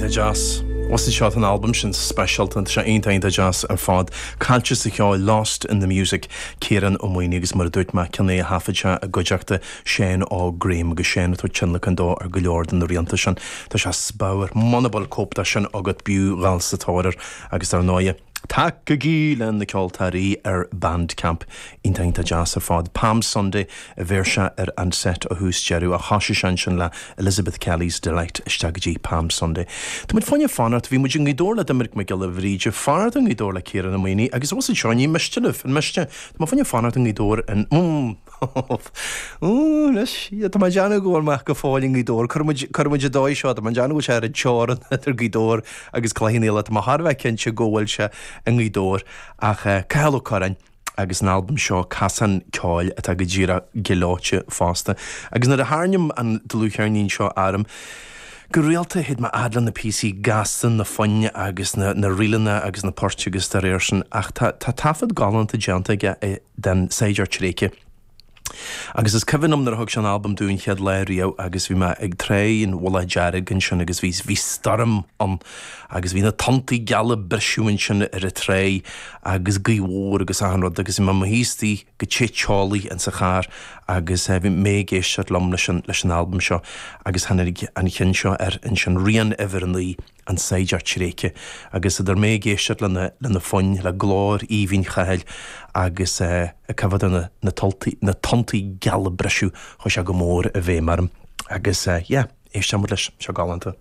Iontach deas. Bhfuil fhios agat, tá an albam sin speisialta, tá sé iontach iontach deas ar fad. Caillte sa cheol, Lost in the Music, Ciarán Ó Maonaigh agus mar a dúirt mé, ceann é a thaifead sé i gcuideachta Shane Óg Graham agus Shane ag tabhairt tionlacan dó ar go leor de na rianta sin. Tá sé speabhar. Muna bhfuil cóip de sin agat b'fhiú dhul sa tóir air agus dar ndóighe, Tacaigí le na ceoltóirí ar Bandcamp. Iontach iontach deas ar fad. Palm Sunday a bheir sé ar an set ó thús deireadh ach thoisigh sé ansin le Elizabeth Kelly's Delight isteach go dtí Palm Sunday. Tá muid fá choinne fanacht, bhí muid i nGaoth Dobhair le Doiminic Mac Giolla Bhríde, fanacht i nGaoth Dobhair le Ciarán Ó Maonaigh agus bhfuil fhios agat seo, ní miste libh, an miste? Tá mé fá choinne fanacht i nGaoth Dobhair in, mm, Anois, tá mé ag déanamh go bhfuil mé go fóill i nGaoth Dobhair. Cuirfidh muid, cuirfidh muid an dóigh seo, tá mé ag déanamh go bhfuil sé ar an teorainn idir Gaoth Dobhair agus Cloich Cheann Fhaola. Tá mé thar a bheith cinnte go bhfuil sé i nGaoth Dobhair. Ach Cathal Ó Curráin agus an albam seo, Casán Ceoil, atá go díreach gleoite fosta. Agus nuair a tharraingim an dlúthcheirnín seo orm, Go rialta théid mé fhad le na píosaí gasta, na foinn agus na na ríleanna agus na poirt agus dá réir sin ach tá tá taifead galánta déanta aige den Saighdiúir Tréigthe. Agus is cuimhin liom nuair a thug sé an albam dúinn chéad lá riamh agus bhí mé ag Tráigh an Mhullaigh Dearg ansin agus bhí bhí stoirm ann agus bhí na tonntaí geala ag briseadh ansin ar an tráigh agus gaoth mhór agus achan rud agus bhí mé i mo shuí istigh go te teolaí insa charr agus bhí mé ag éisteacht liom leis an leis an albam seo agus tháinig an cheann seo air ansin, Rian Uimhir 9, An Saighdiúir Tréigthe agus idir mé ag éisteacht lena lena foinn, le glór aoibhinn Chathail agus ag coimhéad ar na na toltaí na tonntaí geala ag briseadh, chuaigh sé go mór i bhfeidhm orm agus yeah, éisteann muid leis, seo galánta.